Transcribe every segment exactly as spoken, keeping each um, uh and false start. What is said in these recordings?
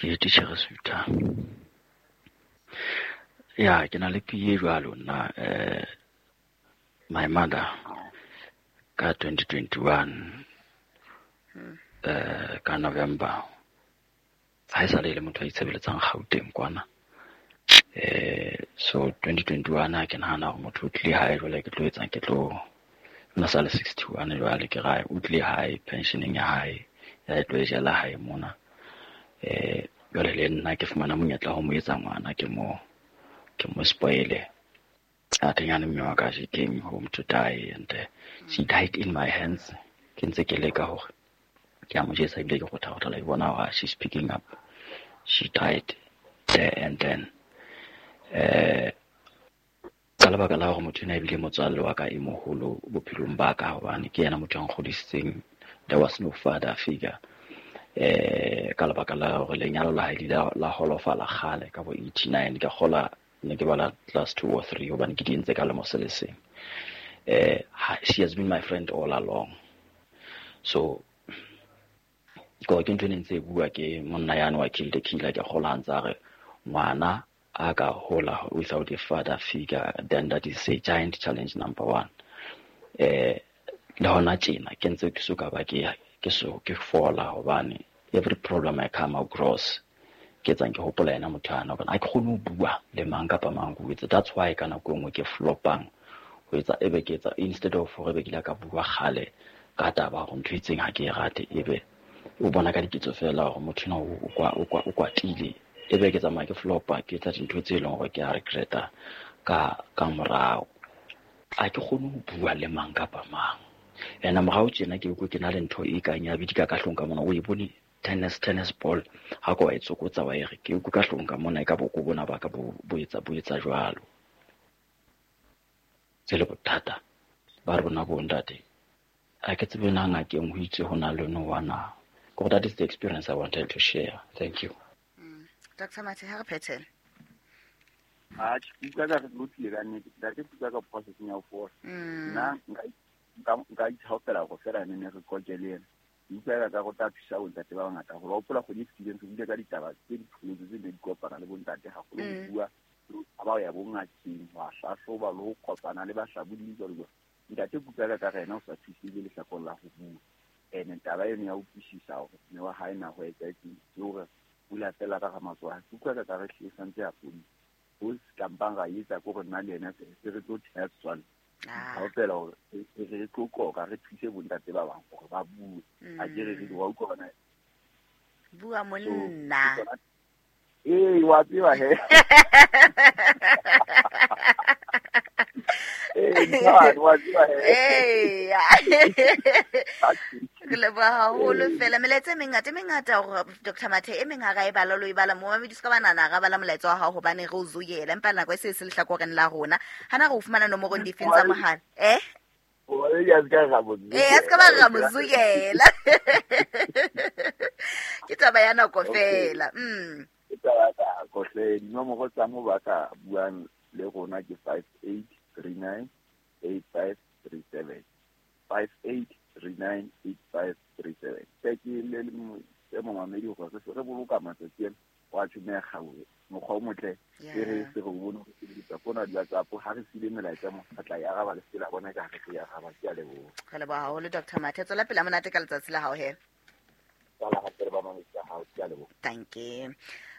Ke titjhere Sutha. Ya, ke na le P A jwalo nna, eh my mother ka twenty twenty-one, eh ka November. Ha e sa le motho a itshebeletsang Gauteng kwana. Eh so twenty twenty-one ha ke nahana hore motho o tlile hae jwale ke tlo etsang, ke tlo nna sa le sixty-one jwale ke ra o tlile hae pensioning ya hae ya tlo e jela hae mona. Eh jwale le nna ke fumana monyetla ho mo etsa ngwana, ke mo ke mo spoile. A teng mme wa ka, she came home to die and uh, she died in my hands. Ke ntse ke leka hore ke a mo jesa ebile ke kgotha kgotha la bona hore she's picking up. She died there and then. Eh ka lebaka la hore motho ena ebile motswalle wa ka e moholo bophelong ba ka, hobane ke yena motho a nkgodisitseng. There was no father figure. Eh ka lebaka la hore lenyalo la hae le la, la holofala kgale ka bo eighty-nine, ke kgola ne ke bala class two or three hobane ke di entse ka lemo se le seng. Eh she has been my friend all along. So ko ke ntho e ne ntse e bua ke monna yane wa Kill the Killer, ke kgola ntse a re ngwana a ka hola without a father figure, then that is a giant challenge number one. Eh le hona tjena ke ntse ke soka ba ke ke so ke fola hobane every problem I come across ke tsang ke hopola yena motho ana, hobane ha ke kgone ho bua le mang kapa mang ho etsa. That's why ka nako e nngwe ke flopang ho etsa, ebe ke etsa instead of hore be ke ile ka bua kgale ka taba hore ntho e itseng ha ke e rate, ebe o bona ka diketso fela hore motho ena o kwa o kwa o kwatile, ebe ke tsamaya ke flopa ke etsa dintho tse leng hore ke a regreta ka ka morao. Ha ke kgone ho bua le mang kapa mang. Ena morao tjena ke utlwe ke na le ntho e kang ya bidika ka hlong ka mona, o e bone tennis, tennis ball ha ko wa e tsokotsa wa e re ke utlwe ka hlong ka mona, e ka boko bona ba ka bo, bo etsa, bo etsa jwalo. Se le bothata ba rona bo ntate. Ha ke tsebe na ngakeng ho itse ho na le no wa na. Ko that is the experience I wanted to share. Thank you. Mm. Doctor Mathe, ha re phethele. Ha ke utlwa ka re lotlile ka nnete, ntate ke utlwa ka process ya ho fola. Mm. Nna nka nka nka ithaopela go fela ne ne re koke le ena. Ke utlwa ka go tla thusa bontate ba bangata gore ba hopola kgwedi e fetileng re buile ka ditaba tse di tshwanetse tse di kopana le bontate haholo ho Mm. bua ha ba ya bongakeng ho hlahloba le ho kopana le bahlabodi jwalo jwalo. Ntate ke utlwa ka re yena o sa thusile lehlakoreng la ho bua. Ene taba eno ya utlwisisa hore mme wa hae na ho etsahetseng, ke hore o ile a fela ka ga matsoho a hae. Ke utlwa ka re hlile santse a fodile. Ho se kampang ra etsa ke hore nna le yena se se re tlo theha setswalle. Ah. Ha o fela hore re, re tlo qoqa, re thuse bontate ba bang hore ba bue. Ha ke re re di wa utlwa hona. Bua So, monna. ke tsona. Ee, wa tseba he. Ee, ntate, wa tseba he. Ee. Re leboha haholo fela. Melaetsa e mengata, e mengata hore Doctor Mathe, e meng ha ra e bala, lo e bala mo mamedi, se ka ba nahana ra bala molaetsa wa hao hobane re o zoyela, empa nako e se e se lehlakoreng la rona. Hana re o fumana nomorong difeng tsa mohala? Eh? Oi, a se ka ra mo Eh, a se ka ba ra mo zoyela. Ke taba ya nako Okay. fela. Mm. Ke taba ya nako hle. Dinomoro tsa mo ba ka buang le rona ke five eight three nine eight five three seven. five eight three nine eight five three seven. Ke ke le le mo, e momamedi hore re se re boloka matsatsi ana, wa tjhomeha kgaohe. Mokgwa o motle, e re Yeah. se re o bone hore sebedisa fona di WhatsApp, ha re siile melaetsa mo, re tla e araba le se la bona ka ha re tlo e araba. Ke a leboha. Re leboha haholo Doctor Mathe. Tswela pele ha monate ka letsatsi la hao he. Tswela hape le ba mamedi ba hao. Ke a leboha. Thank you.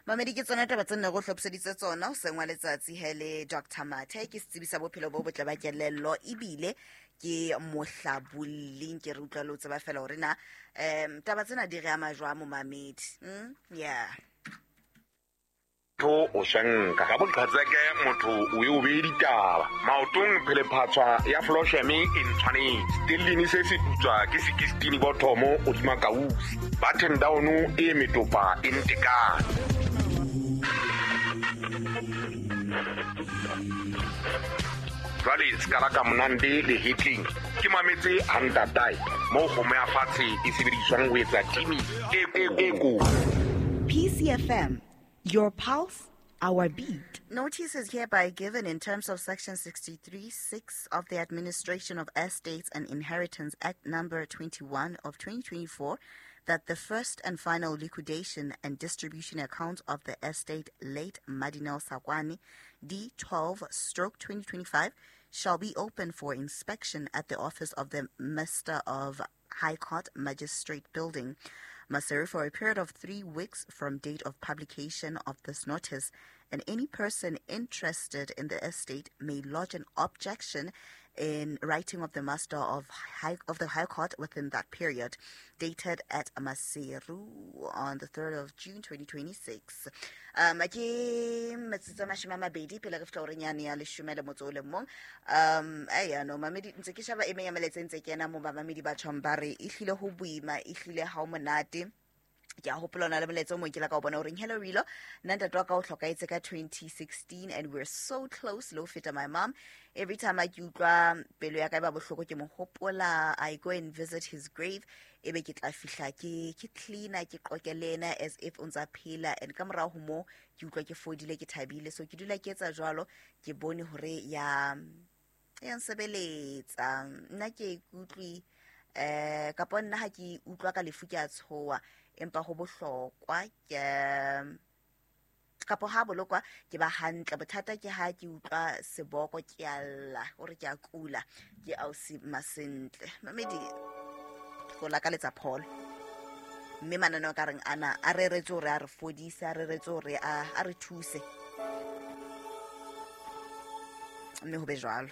Mamedi, ke tsona taba tse nne re hlophiseditse tsona hoseng wa letsatsi he le Doctor Mathe, ke setsebi sa bophelo bo botle ba kelello ebile ke mohlabolli. Ke re utlwa le o tseba fela hore na, em, taba tsena di re ama jwang momamedi. Mm? Yeah. Motho o shanka ka boqhatseke, motho o e o beye ditaba maotong, phelephatswa ya flosheme e ntshwanetse stellini se se putswa ke sixteen bottomo hodima kausi button down e metopa e ntekane. Jwale se ka la ka monande le hetleng ke mametse ha ntatae moo kgomo ya fatshe e sebediswang ho etsa timi e, e, e kotsi. P C F M, your pulse, our beat. Notice is hereby given in terms of Section sixty-three six of the Administration of Estates and Inheritance Act number twenty-one of twenty twenty-four, that the first and final liquidation and distribution account of the estate late Madinel Sakwani D twelve stroke twenty twenty-five shall be open for inspection at the office of the Master of High Court Magistrate Building, Maseru, for a period of three weeks from date of publication of this notice, and any person interested in the estate may lodge an objection in writing of the Master of High, of the High Court within that period, dated at Maseru on the third of June twenty twenty-six. Um, ke metsotso a mashome a mabedi pele re fihla horeng yane ya leshome le motso o le mong. Um, eya, no, mamedi, ntse ke sheba e meng ya melaetsa e ntse kena mo bamamedi ba tjhong ba re ehlile ho boima, ehlile ha ho monate. Ke a hopola ona le molaetsa o mong ke la ka o bona o reng, hello Rilo, nna ntate wa ka o hlokahetse ka twenty sixteen and we're so close, le ho feta my mom. Every time I ke utlwa pelo ya ka e ba bohloko ke mo hopola, I go and visit his grave, ebe ke tla fihla ke ke cleaner, ke qoke le ena as if o ntsa phela, and ka morao ho moo ke utlwa ke fodile, ke thabile. So ke dula ke etsa jwalo, ke bone hore ya ya nsebeletsa. Nna ke ikutlwe eh kapa nna ha ke utlwa ka lefu ke a tshoha, empa ho bohlokwa ke kapo ha bolokwa ke ba hantle. Bothata ke ha ke utlwa seboko ke a lla hore ke a kula, ke ausi Masentle. Mamedi go lakaletsa pholo, mme mananeo ka reng ana a reretse hore a re fodise, a reretse hore a a re thuse, mme ho be jwalo.